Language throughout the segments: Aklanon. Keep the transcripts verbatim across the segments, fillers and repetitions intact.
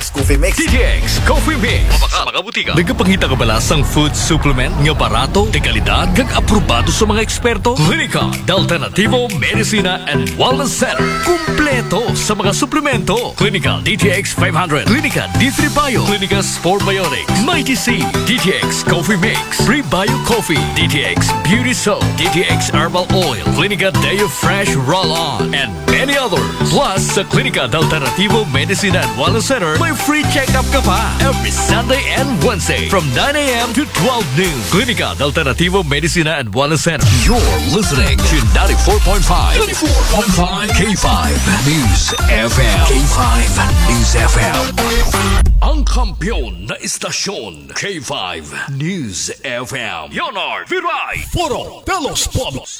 Coffee Mix. D T X Coffee Mix. Mabakal sa mga butika. Nagapangita ka ba sang food supplement nga barato, de kalidad, kag aprobado sa mga eksperto? Klinika de Alternativo Medicina and Wellness Center. Kumpleto sa mga suplemento. Klinika D T X five hundred, Klinika D three Bio, Klinika Sport Biotics, Mighty C, D T X Coffee Mix, Prebio Coffee, D T X Beauty Soap, D T X Herbal Oil, Klinika Deo Fresh Roll-On, and many others. Plus, sa Klinika de Alternativo Medicina and Wellness Center, may free check-up ka pa every Sunday and Wednesday from nine a.m. to twelve noon. Klinika de Alternativo Medicina and Wellness Center. You're listening to ninety-four point five, ninety-four point five K five News F M. K five News F M. Ang kampiyon na istasyon, K five News F M. Leonard Viray. Foro de los Pueblos.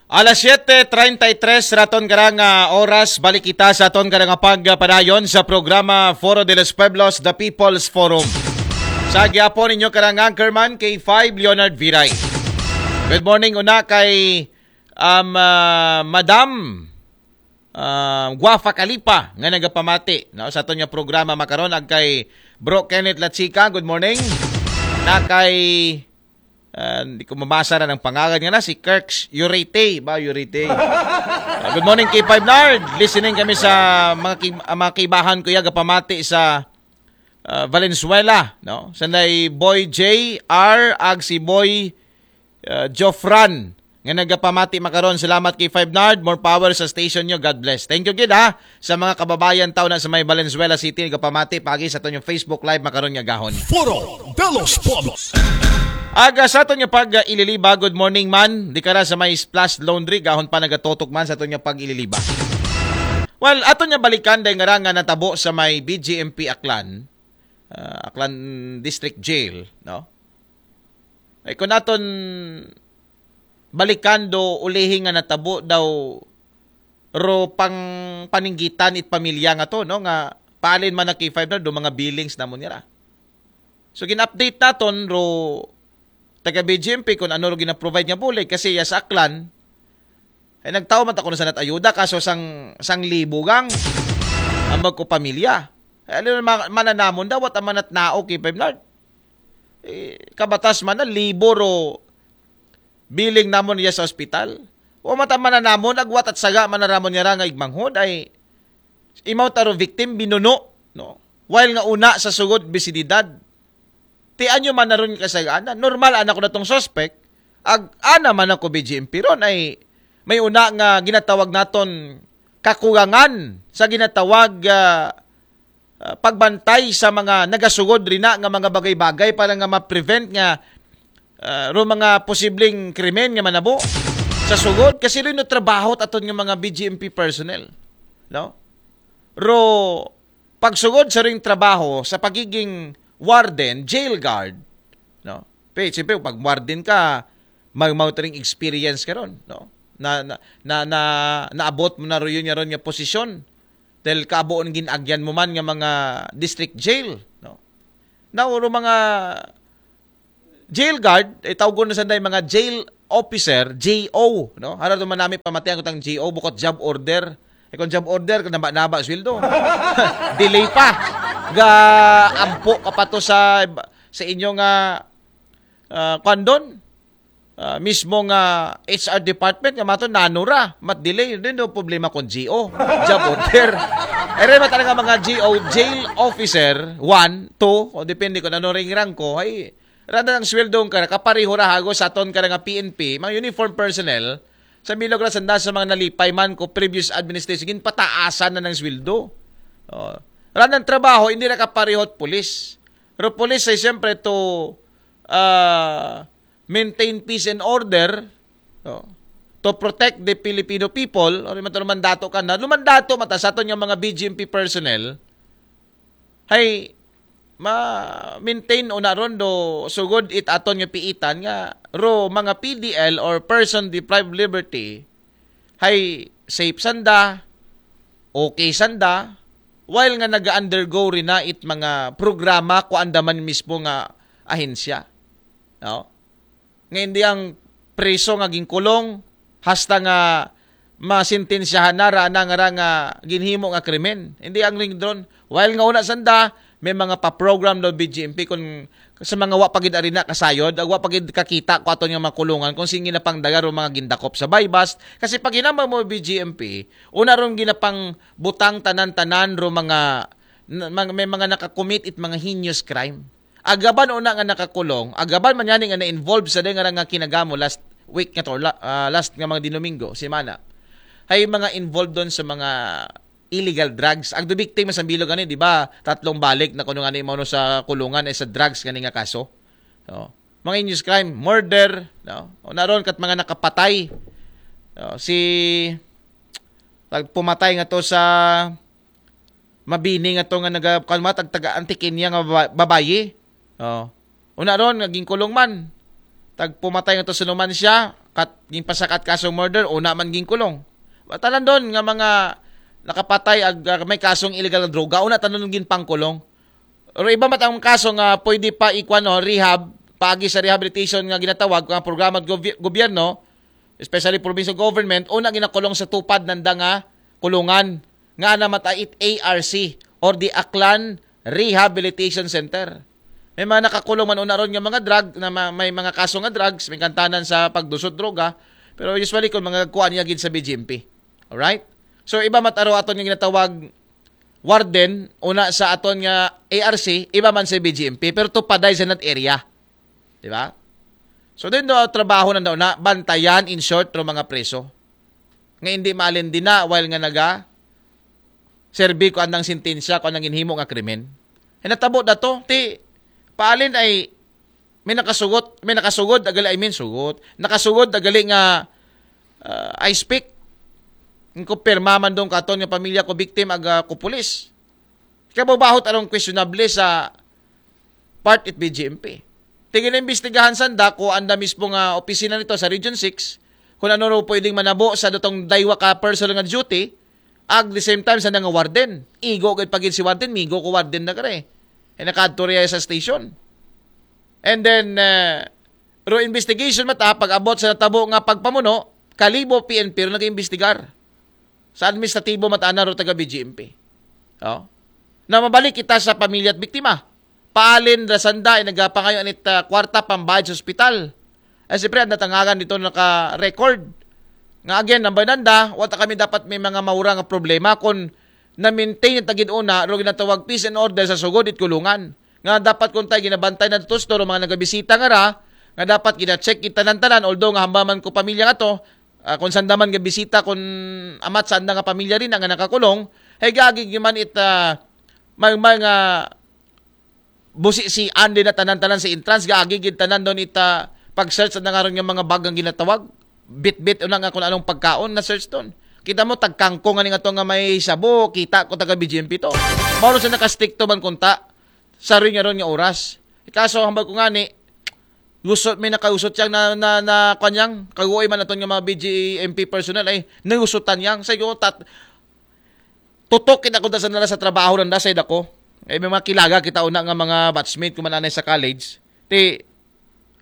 Alas siyete treinta y tres raton karang ah, oras, balik kita sa aton karang pagpadayon sa programa Foro de los Pueblos, The People's Forum. Sa gyapon ninyo karang anchorman, K five Leonard Viray. Good morning una kay um, ah, Madam ah, Guafa Kalipa nga nagapamati, no, sa aton nga programa makaron, ag kay Bro Kenneth Lachica. Good morning. Na kay ah, hindi ko mabasa na ng pangalan nga na, si Kirk Urete ba? Urete. Ah, good morning, K five Nard. Listening kami sa mga, ki- ah, mga kibahan ko, yaga pamati sa ah, Valenzuela, no? Sanday Boy J R ag si Boy ah, Jofran nga nagapamati makaron. Salamat, K five Nard. More power sa station nyo. God bless. Thank you gid ha sa mga kababayan taw na sa may Valenzuela City, nagapamati pagi sa aton nga Facebook Live makaron nga gahon. Foro de los Pueblos. Aga sa aton nga pag-ililiba, good morning man. Di ka ra sa may Splash Laundry, gahon pa nagatutok man sa aton nga pag-ililiba. Well, aton nga balikan dahil nga ra nga natabo sa may B G M P Aklan, ah, Aklan District Jail, no? Ay kung aton balikan do ulihi nga natabo daw ro pang paninggitan it pamilya nga to, no, nga paalin man na K five na do mga billings namon nira. So gin-update naton ro taga B G M P kung ano ro gina-provide nga bulig kasi ya sa Aklan ay nagtao man ta kuno sa nat ayuda kaso sang sang libo gang ang magko pamilya. Ay, ano man mananamon daw, what ang manat nao, K five Nard? Eh, kabatas man na libo ro billing namon niya sa ospital. O mata man na namon, agwat at saga man na ramon niya ra nga igmanghod ay imaw taro victim binuno, no? While nga una sa sugod bisididad. Ti anyo man na ron kasagana. Normal anak ko na tong suspect. Ag ana man ako B G M P ron ay may una nga ginatawag naton kakulangan sa ginatawag ah, ah, pagbantay sa mga nagasugod rina nga mga bagay-bagay para nga ma-prevent nga ah, ro mga posibleng krimen nga manabo sa sugod kasi rin no trabaho aton nga mga B G M P personnel, no? Ro pagsugod sa ring trabaho sa pagiging warden, jail guard, no? Pe, siyempre pag warden ka, mag mao ring experience ka ron, no? Na na na, na naabot mo na ro yun nga ron nga posisyon dahil kabuon ginagyan mo man nga mga district jail, no? Now, ro mga jail guard, eh, tawgon na sanday mga jail officer, J O, no? Hara to man nami pamatian ko tang J O, bukot job order. Eh, kung job order, naba-naba sweldo. Delay pa. Ga ampo ka pa to sa sa inyo nga ah, kwan doon. Ah, mismo nga H R department nga mato nanura mat delay din do problema kon G O, job order. Ere man talaga mga G O, jail officer one, two, o depende kung ano ring rank ko, ay randa ng sweldo ka, kapareho ra hago sa aton ka nga P N P, mga uniform personnel, sa milog ra sanda sa mga nalipay man ko previous administration, ginpataasan na ng sweldo. Oh. Randa ng trabaho, hindi ra kapareho at pulis. Pero pulis ay siyempre to ah, maintain peace and order, no? To protect the Filipino people, or man lumandato ka na, lumandato mata sa aton nga mga B G M P personnel, hay ma-maintain una ron do sugod it aton nga piitan nga ro mga P D L or person deprived liberty, hay safe sanda, okay sanda, while nga nag-undergo rin na it mga programa ko andaman mismo nga ahensya. No? Nga hindi ang preso nga ginkulong hasta nga masintensyahan na ra na nga ra nga ginhimo nga krimen. Hindi ang ring drone. While nga una sanda, may mga pa-program daw B G M P kung sa mga wa pa gid arina kasayod, ag wa pa gid kakita ko aton nga mga kulungan kung sige na pang dagar o mga gindakop sa buy bust. Kasi pag hinambal mo B G M P, una ron ginapang butang tanan-tanan ro mga na- mga- may mga nakakumit it mga heinous crime. Agaban una nga nakakulong, agaban man yani nga na-involve sa nga nga kinagamo last week nga to, la- ah, last nga mga Dinomingo, semana. Hay mga involved doon sa mga illegal drugs. Ang the victim sa Bilog ani, di ba? Tatlong balik na kuno nga ni mao sa kulungan ay sa drugs kani nga kaso. Oh. Mga heinous crime, murder, no? O naron kat mga nakapatay. Oh, si pag pumatay nga to sa Mabini nga to nga naga kan mga tagtaga Antiqueña nga baba- babayi. Oh. Una ron nga ginkulong man. Tag pumatay nga to sa numan siya, kat ginpasakat kasong murder, una man ginkulong. Wa tanan doon nga mga nakapatay ag ah, may kasong illegal nga droga, una tanan ginpangkulong. Pero iba mat ang kaso nga pwede pa ikuan no, rehab, paagi sa rehabilitation nga ginatawag nga programa ng gobi- gobyerno, especially provincial government, una ginakulong sa tupad nanda nga kulungan nga ana mata it A R C or the Aklan Rehabilitation Center. May mga nakakulong man una ron nga mga drug na ma- may mga kaso nga drugs, may kantanan sa pagdusot droga, pero usually kung mga kuan niya gid sa B G M P. Alright? So iba mataro aton nga ginatawag warden una sa aton nga A R C, iba man sa B G M P, pero tupaday sa that area. Di ba? So din do trabaho na daw na bantayan in short ro mga preso. Nga hindi maalin din na while nga naga serbi ko andang sentensya ko andang ginhimo nga krimen. E natabo na to, ti paalin ay may nakasugot, may nakasugod agali, I mean sugot. Nakasugod agali nga uh, I speak. Ko pirma man dong katon nga pamilya ko victim aga ko pulis. Kababahot arong questionable sa part it B G M P. Tigil imbestigahan sanda ko anda mismo nga opisina nito sa Region six kung ano ro pwedeng manabo sa datong daywa ka personal nga duty ag the same time sa nga warden. Igo gid pagid si warden, migo ko warden na kare. E nakadto riya sa station. And then uh, ro investigation mata pag abot sa natabo nga pagpamuno, kalibo P N P ro nag-imbestigar. Sa administratibo mata ana ro taga B G M P. Oh. Na mabalik kita sa pamilya at biktima. Paalin ra sanda ay nagapangayo anit uh, kwarta pambayad sa ospital. Ay siyempre ang natangagan dito naka-record. Nga again, number nanda, wata kami dapat may mga maura nga problema kung na-maintain yung tagid una, ro ginatawag peace and order sa sugod it kulungan. Nga dapat kung tayo ginabantay na to store, mga nagabisita nga ra, nga dapat gina-check it tanan-tanan, although nga hambaman ko pamilya nga to, ah, kung sanda man gabisita, kung amat sanda nga pamilya rin nga nakakulong, hay gagig man it ah, may mga busi si Andy na tanan-tanan sa entrance, gagig it tanan doon ita pag-search na nga ron yung mga bagang ginatawag, bit-bit una nga kung anong pagkaon na search doon. Kita mo tagkangkong nga nga to nga may sabo, kita ko taga B G M P to. Mao sa nakastrikto man kunta sa rin nga ron nga oras. Kaso hambal ko nga ni, gusot may nakausot yang na, na, na kanyang kaguoy man aton nga mga B G M P personnel ay nausutan yang sa iyo tat tutok kita kunta sa nala sa trabaho nanda sa ako. Ay may mga kilaga kita una nga mga batchmate ko mananay sa college. Ti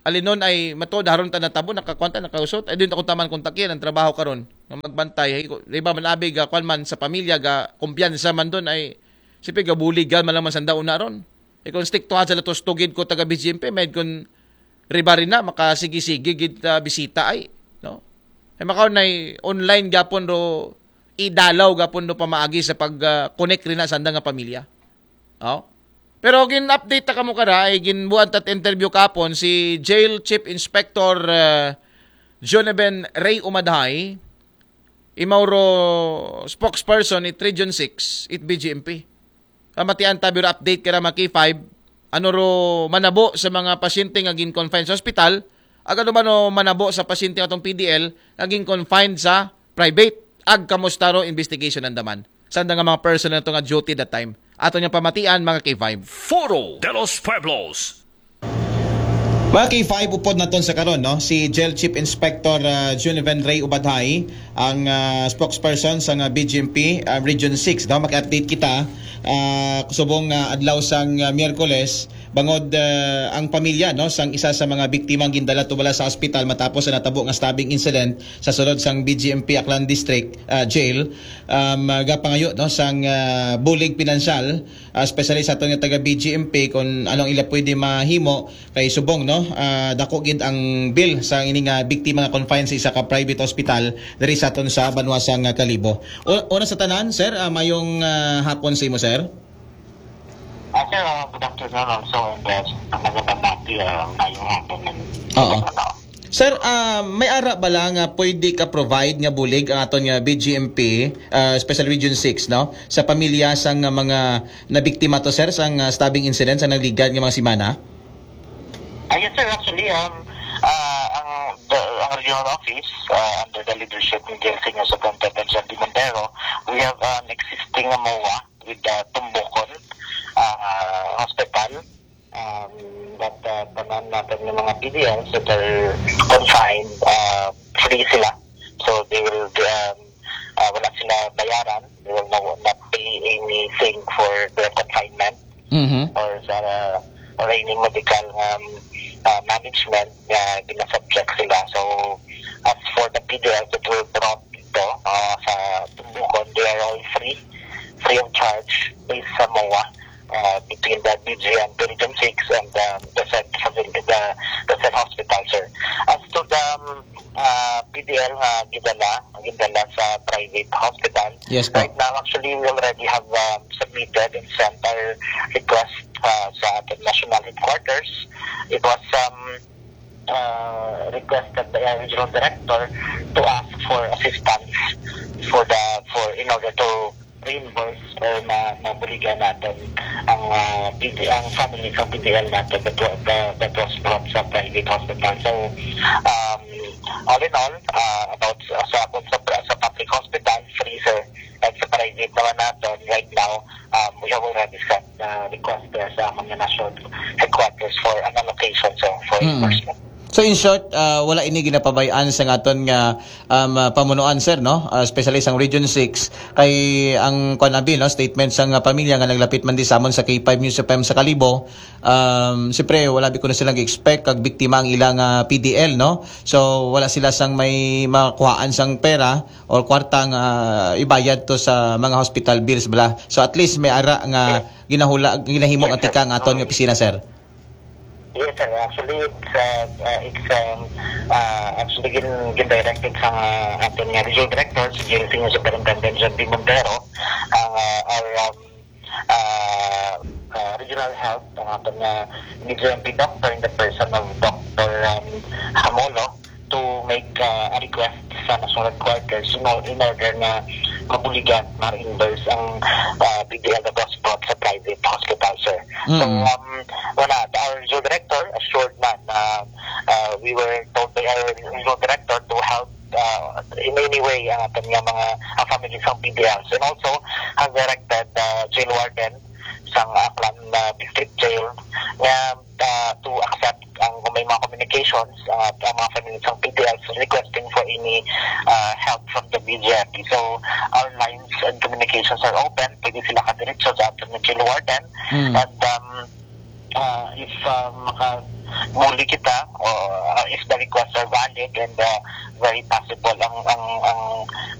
alinon ay matod haron ta natabo nakakwanta nakausot ay din ako taman kontakin ang trabaho karon nga magbantay ay ko- di ba man abi ga kwan man sa pamilya ga kumpiyansa man doon ay sipi ga buligan man lang man sanda una ron. Ay kung stick to sa latos tugid ko taga B G M P may kun riba rin na makasigi-sige gid ah, bisita ay no. Ay makaon na online gapon ro idalaw gapon ro pamaagi sa pag ah, connect rin na sanda nga pamilya. Oh. Pero gin-update ta kamo kara ay ginbuan tat interview kapon si Jail Chief Inspector uh, Joneven Ray Umadhay, imaw ro spokesperson it Region six, it B G M P. Kamatian ta biro update kara mga K five, ano ro manabo sa mga pasyente nga gin-confine sa ospital, ag ano ba no manabo sa pasyente atong P D L nga gin-confine sa private, ag kamusta ro investigation ang daman. Sanda nga mga personnel to nga duty that time. Ato niyang pamatian, mga K five. Foro de los Pueblos. Mga K five, upod naton sa karon, no? Si Jail Chief Inspector uh, Juniven Ray Ubadhay, ang uh, spokesperson sa nga B G M P uh, Region six. Daw maki-update kita uh, subong uh, adlaw sang uh, Miyerkules Bangod, ah, ang pamilya, no, sang isa sa mga biktima ang gindala to bala sa ospital matapos sa natabo nga stabbing incident sa sulod sang B G M P Aklan District, ah, Jail, um, ah, gapangayo, no, sang, ah, bulig pinansyal, ah, especially sa aton nga taga B G M P, kung anong ila pwede mahimo kay subong, no, ah, dako gid ang bill sa ini nga biktima nga confined sa isa ka private hospital diri sa aton sa banwa sang Kalibo. O, una sa tanan, sir, ah, mayong, ah, hapon sa imo, sir. Ah, sir, ah, good afternoon also, and uh, magandang hapon, uh, ngayong hapon ng Oo. Sir, ah, may ara bala nga pwede ka provide nga bulig ang aton nga B G M P, ah, Special Region six, no? Sa pamilya sang, ah, mga nabiktima to, sir, sang, ah, stabbing incident sa nagligad nga mga semana? Ah, yes, sir. Actually, um, uh, ang, the, ang regional office, uh, under the leadership ni Jail Senior Superintendent John D. Montero, we have an existing MOA with the Tumbukon uh, Hospital. Um, that uh, tanan natin ng mga P D Ls that are confined, uh, free sila. So they will, um, uh, wala sila bayaran. They will not, not pay anything for their confinement Mhm. or sa or any medical um, uh, management na ginasubject sila. So as for the P D Ls that were brought dito uh, sa Tumbukon, they are all free, free of charge based sa MOA uh, between the B G M P Region six and um, the said facility, the, the said hospital, sir. As to the um, uh, P D L nga gidala, gidala sa private hospital, Yes po. Right now, actually, we already have um, submitted and sent our request uh, sa ating national headquarters. It was um, uh, requested by our regional director to ask for assistance for the for in order to reimburse or ma mabuligan natin ang uh, P D, ang family sa P D L natin that, wa- the, that was brought sa private hospital. So, um, all in all, uh, about sa, sa, sa, sa public hospital, free, sir, at sa private naman natin, right now, um, we have already sent uh, request there sa mga national headquarters for an allocation, so for Mm. reimbursement. So in short, ah, wala ini ginapabay-an sa aton nga um, ah, pamunuan, sir, no? Ah, especially sang Region six, kay ang kuan abi, no, statement sang pamilya nga naglapit man di sa amon sa K five News F M sa Kalibo, um, siyempre wala bi kuno silang expect kag biktima ang ilang ah, P D L, no? So wala sila sang may makuhaan sang pera or kwarta nga ibayad to sa mga hospital bills bala. So at least may ara nga ginahula, ginahimo nga tikang aton nga opisina, sir. Yes, sir. Actually, it's uh, uh, it's um, uh, actually gin, gin-directed sa uh, ating uh, regional director, si Jail Senior Superintendent John D. Montero, ang uh, our um, uh, uh, regional health, ang ating uh, B G M P doctor in the person of Doctor Um, Hamolo to make uh, a request sa national headquarters in, or- in order na mabuligan, ma-reimburse ang uh, P D L na brought sa private hospital, sir. So, Mm. um, wala, our regional director assured na na uh, we were told by our regional director to help uh, in any way ang ating nga mga ang family sa P D Ls. And also, has directed uh, jail warden sa Aklan uh, District Jail nga uh, to accept ang kung may mga communications uh, ang mga family sa P D Ls requesting for any uh, help from the B G M P. So, our lines and communications are open. Pwede sila kadiretso sa ating jail warden. Mm. And um, uh, if uh, makabuli kita, or uh, if the requests are valid and uh, very possible ang ang ang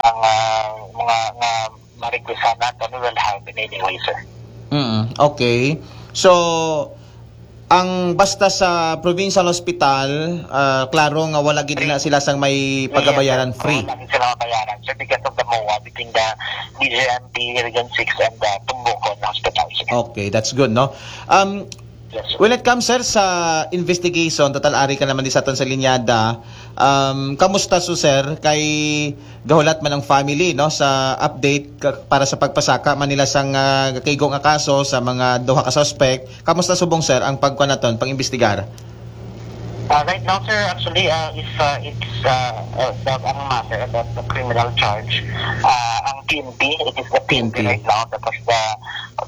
ang uh, mga nga ma-requestan natin, we will help in any way, sir. Mm, okay. So, ang basta sa provincial hospital, ah, klaro nga wala gid na sila sang may pagabayaran, free. Wala gid sila mabayaran, sir, because of the MOA between the B G M P Region six and the Tumbukon Hospital, sir. Okay, that's good, no? Um, Yes, sir. When it comes, sir, sa investigation, total ari ka naman di sa aton sa linyada, um, kamusta so, sir? Kay gahulat man ang family, no, sa update ka- para sa pagpasaka man nila sang ah, kaigo nga kaso sa mga duha ka suspect. Kamusta subong, sir, ang pagkuan naton, pang-imbestigar? Uh, right now, sir, actually, uh, if uh, it's uh, uh, about ang matter about the criminal charge, uh, ang P N P, it is the P N P P N P. Right now that has the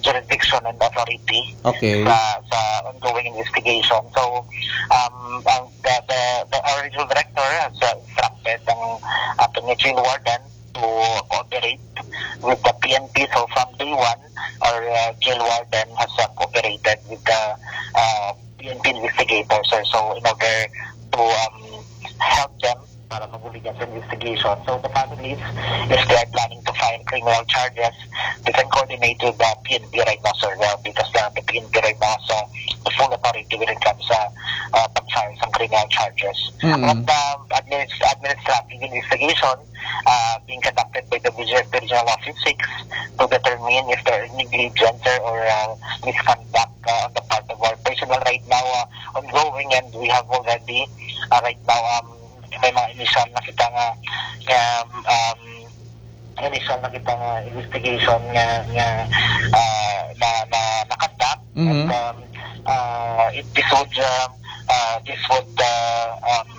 jurisdiction and authority Okay. sa, sa ongoing investigation. So, um, ang, the, the, the our regional director has uh, instructed ang ating jail warden to cooperate with the P N P. So, from day one, our uh, jail warden has uh, cooperated with the uh, P N P investigators, sir. So in order to um, help them para mabuligan sa investigation. So the families, if they are planning to file criminal charges, they can coordinate with the P N P right now, sir, uh, because uh, the P N P right now has uh, the full authority when it comes sa uh, pag-file sa criminal charges. Mm. But um, administ- administrative investigation uh, being conducted by the Regional Office six to determine if there is negligence or uh, misconduct uh, on the part of our personnel right now uh, ongoing, and we have already uh, right now um, may mga initial na kita nga um, um, initial na kita nga investigation nga nga uh, na na na-conduct. Mhm. And um, uh, it, this would uh, uh, this would uh, um,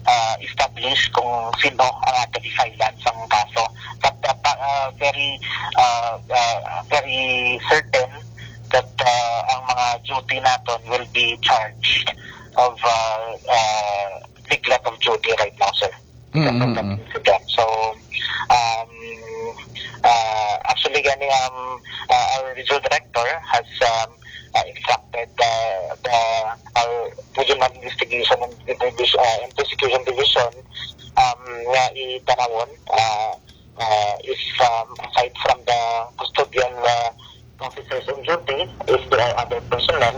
uh, establish kung sino ang ato i-file sa kaso. But uh, pa- uh, very uh, uh, very certain that uh, ang mga duty naton will be charged of uh, uh, neglect of duty right now, sir. Mm, Because of mm, that mm. incident. So, um, uh, actually, gani, um, uh, our regional director has um, uh, instructed uh, the our regional investigation and, division, uh, and prosecution division um, nga itanawon uh, uh, if um, aside from the custodial uh, officers on duty, if there are other personnel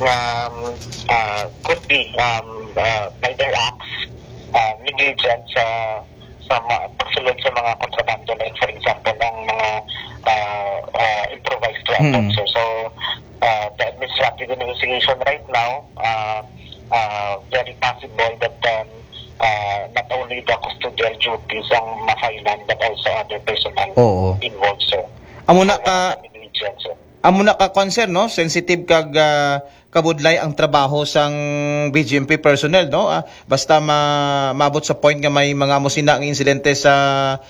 na um, uh, could be um, uh, by their acts uh, negligent sa sa mga pagsulod sa mga kontrabando, like for example ang mga uh, uh, improvised weapons. Mm. So, so uh, the administrative investigation right now uh, uh, very possible that um, uh, not only the custodial duties ang ma-file-an but also other personnel Oo. involved, sir. Amo na ka Negligence, sir. Amo na ka concern, no? Sensitive kag ah, kabudlay ang trabaho sang B G M P personnel, no? Ah, basta ma maabot sa point nga may mga amo sina nga insidente sa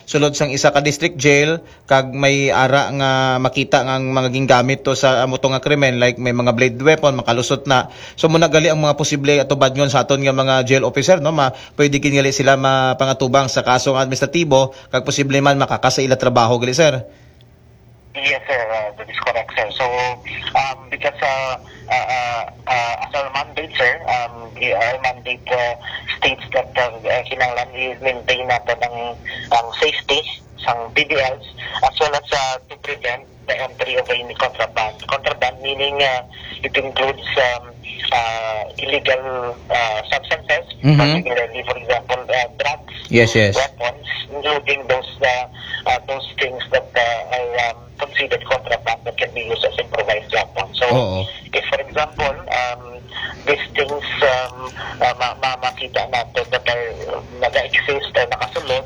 sulod sang isa ka district jail, kag may ara nga makita nga ang mga gingamit to sa amo to nga krimen, like may mga blade weapon, makalusot na. So muna gali ang mga posible atubadngon sa aton nga mga jail officer, no? Ma pwede gid gali sila mapangatubang sa kaso nga administratibo, kag posible man makakasa ila trabaho gali, sir. Yes, sir. Uh, that is correct, sir. So, um, because uh, uh, uh, uh, as our mandate, sir, um, i- our mandate uh, states that uh, uh, kinahanglan i-maintain natin ang, ang safety sang P D Ls as well as uh, to prevent the entry of any contraband. Contraband meaning uh, it includes um, uh, illegal uh, substances, Mhm. particularly, for example, uh, drugs, Yes, yes. weapons, including those uh, uh, those things that uh, are um, considered contraband that can be used as improvised weapons. So, Oo. if for example, um, these things um, uh, ma- ma- makita natin that are uh, nag-exist or nakasulod,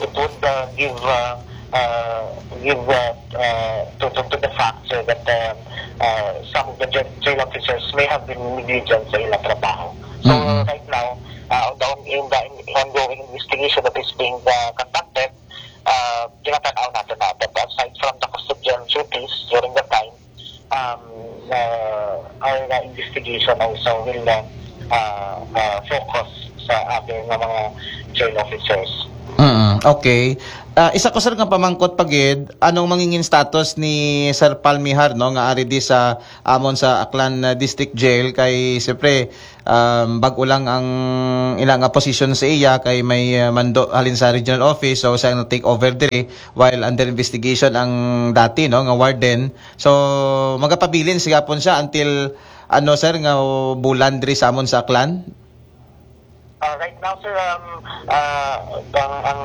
it would uh, give uh, uh, give uh, uh, to, to, to the fact, sir, that uh, uh, some of the jail, jail officers may have been negligent sa ilang trabaho. So Mm-mm. right now, uh, on the on, in the ongoing investigation that is being uh, conducted, uh, ginatanaw natin na that aside from the custodial duties during the time, um, uh, our uh, investigation also will uh, uh, uh, focus sa other nga mga jail officers. Mm, okay. Ah, isa ko, sir, nga pamangkot pa gid, anong mangingin status ni Sir Palmihar, no, nga ari di sa amon sa Aklan uh, District Jail? Kay siyempre um, bag-o lang ang ila nga position sa iya, kay may uh, mando halin sa regional office, so siya na take over diri while under investigation ang dati, no, nga warden. So magapabilin siya pon siya until ano, sir, nga bulan diri sa amon sa Aklan? Uh, right now, sir, um, uh, ang, ang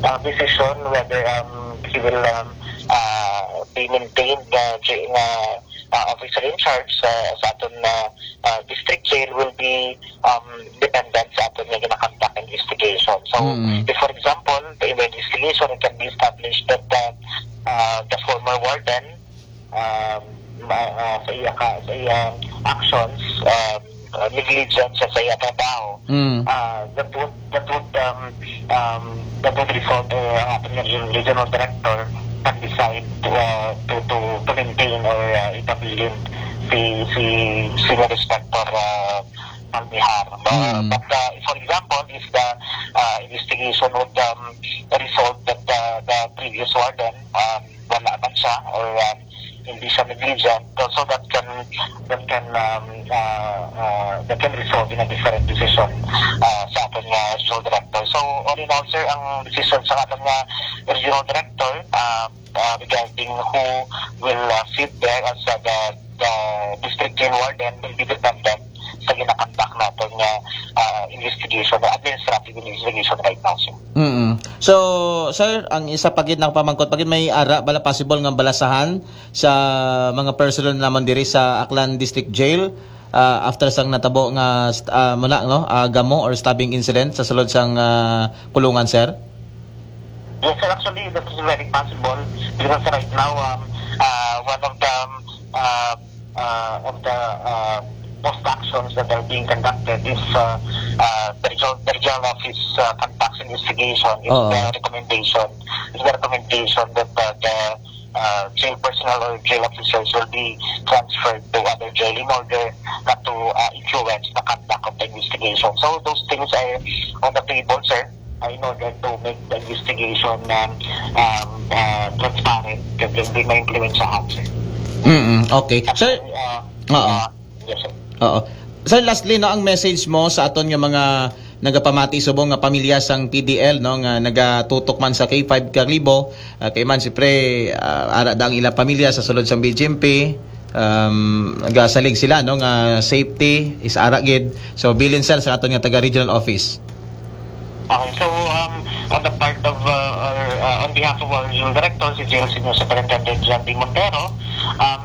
uh, decision whether um, he will um, uh, be maintained uh, j- uh, uh, officer in charge uh, sa aton uh, uh, district jail will be um, dependent sa aton nga ginakonduct investigation. So, Mm. if for example, the investigation can be established that uh, uh, the former warden um, uh, uh, sa iya ka, sa iya actions, um, uh, negligence sa iya trabaho, Mm. uh, that would that would um, um, that would result uh, ang ating region- regional director nag-decide to, uh, to, to, to maintain or uh, ipabilin si si senior inspector uh, Palmihar. Uh, Mm. But uh, for example, if the uh, investigation would um, result that uh, the previous warden um, wala man siya or um, hindi siya negligent, so, so that can that can um, uh, uh, that can result in a different decision uh, sa aton nga regional director. So all in all, sir, ang decision sa aton nga regional director uh, uh, regarding who will uh, sit there as uh, the, the district jail warden will be dependent sa ginakandak naton nga uh, investigation, administrative investigation right now, sir. Mm. So, sir, ang isa pa gid na pamangkot pa gid, may ara bala possible nga balasahan sa mga personnel naman diri sa Aklan District Jail uh, after sang natabo nga uh, muna, no, uh, gamo or stabbing incident sa sulod sang uh, kulungan, sir? Yes, sir. Actually, that is very possible because right now, um, uh, one of the um, uh, uh, of the uh, post actions that are being conducted is uh, uh, the, regional, the regional office uh, conducts investigation. It's Oo. The recommendation. It's the recommendation that uh, the uh, jail personnel or jail officers will be transferred to other jail in order not to uh, influence the conduct of the investigation. So those things are on the table, sir, uh, in order to make the investigation um, um, uh, transparent, kag hindi ma-influensyahan, sir. Mm, okay. Sir, Uh, Oo. uh, yes, sir. Oo. Sir, lastly, no, ang message mo sa aton nga mga nagapamati subong nga pamilya sang P D L, no, nga nagatutok man sa K five Kalibo, uh, kay man siyempre uh, ara da ang ilang pamilya sa sulod sang B G M P, um, nagasalig sila, no, nga safety is ara gid. So bilin, sir, sa aton nga taga regional office. Okay, so um, on the part of uh, or, uh, on behalf of our regional director, si Jail Senior Superintendent John D. Montero, um,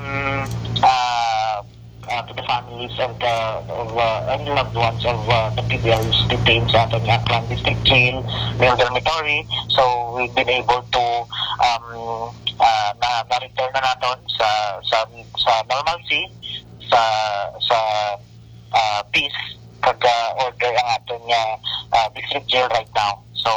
uh, uh, to the families of the of, uh, and loved ones of uh, the P D Ls detained sa aton nga Aklan District Jail, male dormitory. So we've been able to um, uh, na, na-return na naton sa sa sa normalcy, sa sa uh, peace kag uh, order ang aton nga uh, district jail right now. So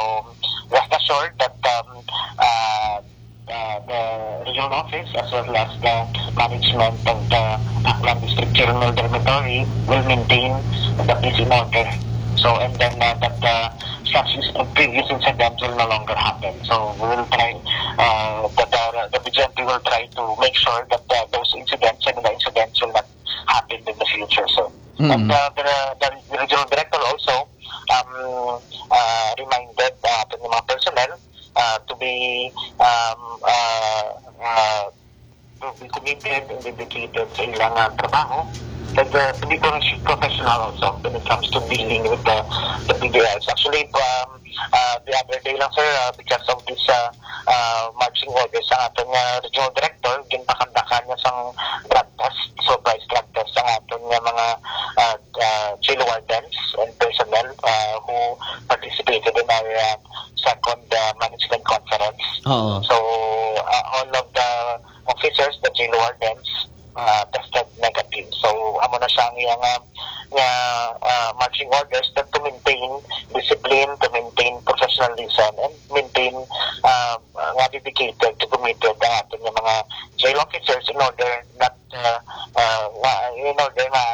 rest assured that um, uh, uh, the regional office as well as the management of the Aklan District Jail Male Dormitory will maintain the peace and order. So and then uh, that uh, such is- previous incident will no longer happen. So we will try uh, that the, the B G M P will try to make sure that uh, those incidents, similar incidents, will not happen in the future. So Mm. and uh, the, the regional director also um, uh, reminded uh, aton nga mga personnel uh, to be um, uh, uh, to be committed and dedicated sa ilang uh, trabaho and uh, to be prof- professional also when it comes to dealing with the, the P D Ls. Actually, um, uh, the other day lang, sir, uh, because of this uh, uh, marching orders sa aton nga regional director, ginpakandakan niya sang drug test, surprise drug test sa aton nga mga uh, uh, jail wardens and personnel uh, who participated in our uh, second uh, management conference. Oo. So uh, all of the officers, the jail wardens, uh, tested negative. So amo na siya ang iyang uh, nga uh, marching orders that to maintain discipline, to maintain professionalism, and maintain uh, nga dedicated to committed ang aton nga mga jail officers in order not uh, uh, nga- in order na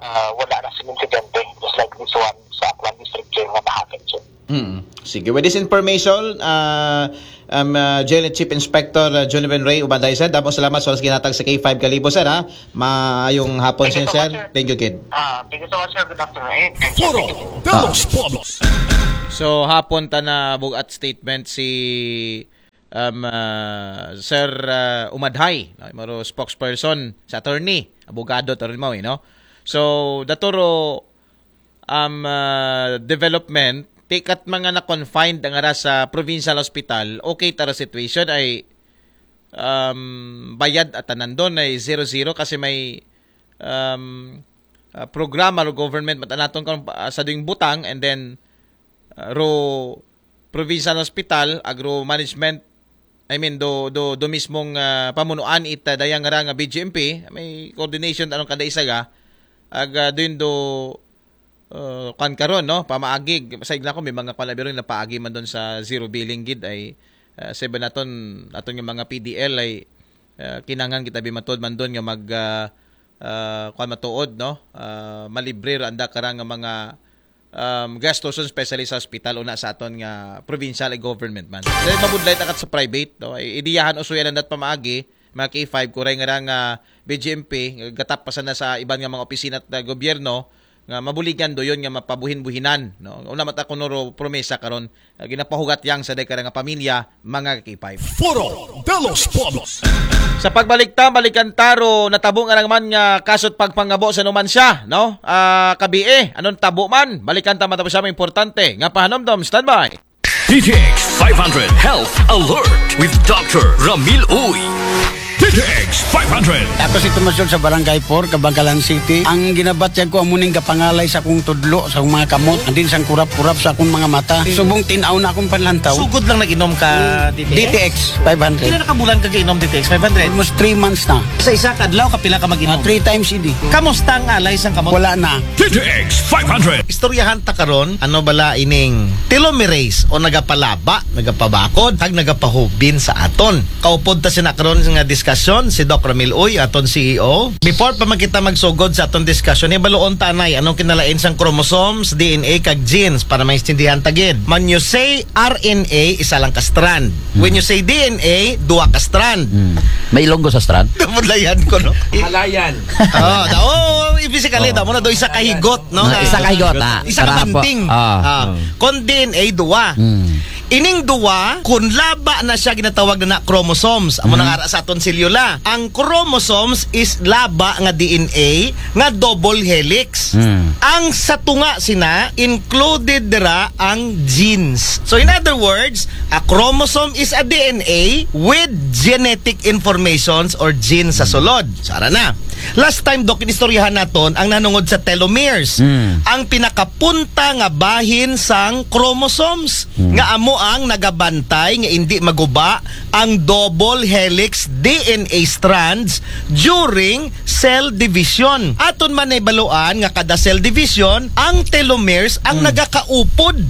uh, wala na sing insidente just like this one sa Aklan District Jail nga nahappen, sir. Mm. Sige, with this information, uh, um, uh, Jail Chief Inspector uh, Jonathan Ray Ubanday, sir, damo salamat sa oras ginhatag sa K five Kalibo, sir, ha? Maayong hapon, Thank you sir, so sir. Much, sir. Thank you, kid. Ah, thank you so much, sir. Good afternoon. And thank you. Foro de los Pueblos. So hapon ta na bugat statement si um, uh, Sir uh, Umadhay, no? Maro spokesperson sa attorney, abogado attorney mo, no? So daturo um, uh, development, tikat mga na-confined ang ara sa provincial hospital, okay tara situation ay um, bayad at nandun ay zero-zero kasi may um, uh, programa o government mat anaton kan uh, sa doing butang and then uh, ro provincial hospital, agro management, I mean do do do mismong uh, pamunuan ita dayang ra nga B G M P, may coordination anong kada isa ga ag uh, doon do uh, kwan karon, no, pamaagi sa igla ko may mga kwan na biro na paagi man doon sa zero billing gid ay uh, seven naton aton nga mga P D L ay uh, kinangan kita bimatod man doon nga mag uh, uh, kwan matuod, no, uh, malibre ra anda karang nga mga um, gastuson, especially sa hospital una sa aton nga provincial government man. Dahil mabudlay takat sa private, no, ay idiyahan usuyan ang dat pamaagi mga K five, kuray nga ra nga B J M P, gatap pa sana sa iban nga mga opisina at, ah, gobyerno, nga mabuligan do yun nga mapabuhin-buhinan, no? Una mata kuno ro promesa karon, ah, ginapahugat yang sa dekada nga pamilya, mga K five. Foro de los Pueblos. Sa pagbalik ta, balikan ta ro natabo nga naman nga kaso't pagpangabo sa numan siya, no? Ah, kabi eh, anong tabo man? Balikan ta matapos siya, importante nga pahanumdom. Standby. D T X five hundred Health Alert with Doctor Ramil Uy. D T X five hundred. Ako si Tomas Yun sa Barangay four, Kabangkalan City. Ang ginabatyag ko, amo ning gapangalay sa akong tudlo, sa akong mga kamot, andin sang kurap-kurap sa akong mga mata. Subong tinaw na akong panlantaw. Sugod lang nag-inom ka D T X? D T X five hundred. Pila na ka bulan ka gainom D T X five hundred? Almost three months na. Sa isa ka adlaw, kapila ka mag-inom? Ah, three times a day. Kamusta ang alay sang kamot? Wala na. D T X five hundred. Istoryahan ta karon, ano bala ining telomerase o nagapalaba, nagapabakod, kag nagapahubin sa aton. Kaupod ta sina karon nga diskasyon, si Doc Ramil Uy, aton C E O. Before pa man kita magsugod sa aton diskasyon, hibaluon ta anay, anong kinalain sang chromosomes, D N A, kag genes para maintindihan ta gid. When you say R N A, isa lang ka strand. When you say D N A, duha ka strand. Hmm. May Ilonggo sa strand? Napudlayan ko, no? Halayan. Oh, da, oh, physically, da mo na do isa ka higot, no? Ah, isa ka higot, ah. Isa ka Tara po. Banting. Ah. Ah. Kon D N A, duwa. Hmm. Ining duwa, kun laba na siya, ginatawag na, na chromosomes. Amo nang ara sa aton selula. Ang chromosomes is laba nga D N A nga double helix. Hmm. Ang sa tunga sina, included dira ang genes. So in other words, a chromosome is a D N A with genetic informations or genes sa sulod. So ara na. Last time, Doc, inistoryahan naton ang nanungod sa telomeres. Hmm. Ang pinakapunta nga bahin sang chromosomes nga amo ang nagabantay nga indi maguba ang double helix D N A strands during cell division. Aton man nahibaluan nga kada cell division, ang telomeres ang nagakaupod.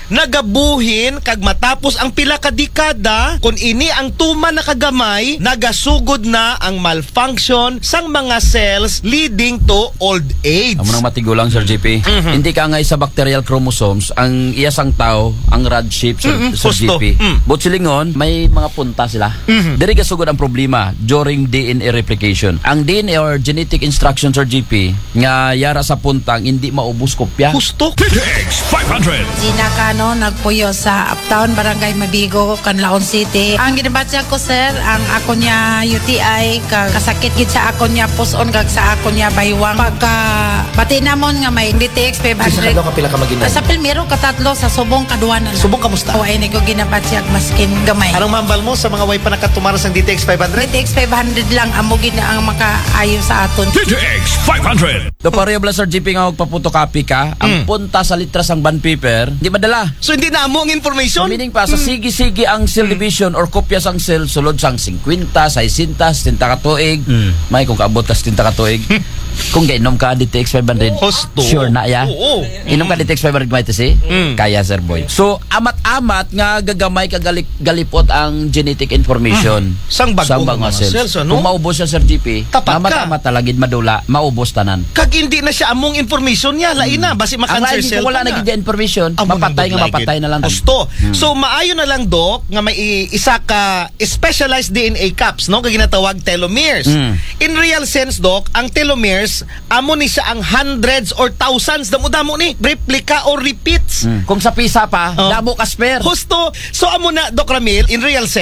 Nagabuhin kag matapos ang pila ka dekada, kun ini ang tuman na kagamay, nagasugod na ang malfunction sang mga cells leading to old age. Amo nang matigulang, Sir G P. Hindi ka nga sa bacterial chromosomes, ang iya sang tao, ang rod shape, Sir, Mm-mm, Sir husto. G P. Mm. But silingon, may mga punta sila. Diri gasugod ang problema during D N A replication. Ang D N A or genetic instruction, Sir G P, nga yara sa puntang hindi maubos kopya. Husto. D T X five hundred. Gina Cano, nagpuyo sa Uptown, Barangay Mabigo, Canlaon City. Ang ginabatya ko, sir, ang ako niya U T I, ka-, kasakit gid sa ako niya puson, kag sa ako niya baywang. Pagka bati namon nga may D T X five hundred. Sa kadlaw, kapila ka mag-inom? Sa primero, katatlo, sa subong, kaduwa na lang. Subong, kamusta? O, ay, ni ko ginabatyag maskin gamay. Anong mahambal mo sa mga way pa nakatumar sang D T X five hundred? D T X five hundred lang, amo gid na ang makaayo sa aton. D T X five hundred. Do pareho bala, Sir G P, nga magpapotocopy ka, ang punta sa litra sang bond paper, di madala. So, hindi na amo ang So, information? meaning pa, sa sige-sige ang cell division or kopya sang cell, sulod sang singkwenta, saysenta, setenta ka tuig, may kung kaabot ka setenta ka tuig, kung gainom ka D T X five hundred, Husto. Sure na ya. Oo. Inom ka D T X five hundred, may tisi? Kaya, Sir Boy. So, amat-amat nga gagamay ka galik-, galipot ang genetic information. Sang bag-o nga mga cells, ano? Kung maubos siya, Sir G P, Tapat ka. amat-amat talagid madula, maubos tanan. Kag hindi na siya among information niya, lain na, basi Ang ma-cancer lain, kung wala ka na na. Gid information, Amo mapatay nang nga budlay mapatay gid. Na lang. Husto. So, maayo na lang, Doc, nga may i- isa ka specialized D N A caps, no? Kag ginatawag telomeres. Mm. In real sense, Doc, ang telomeres, amo ni siya ang hundreds or thousands, damo-damo ni, replica or repeats. Mm. Kung sa pisa pa, Oh. Damo ka spare. Husto. So, amo na, Doc Ramil, in real sense,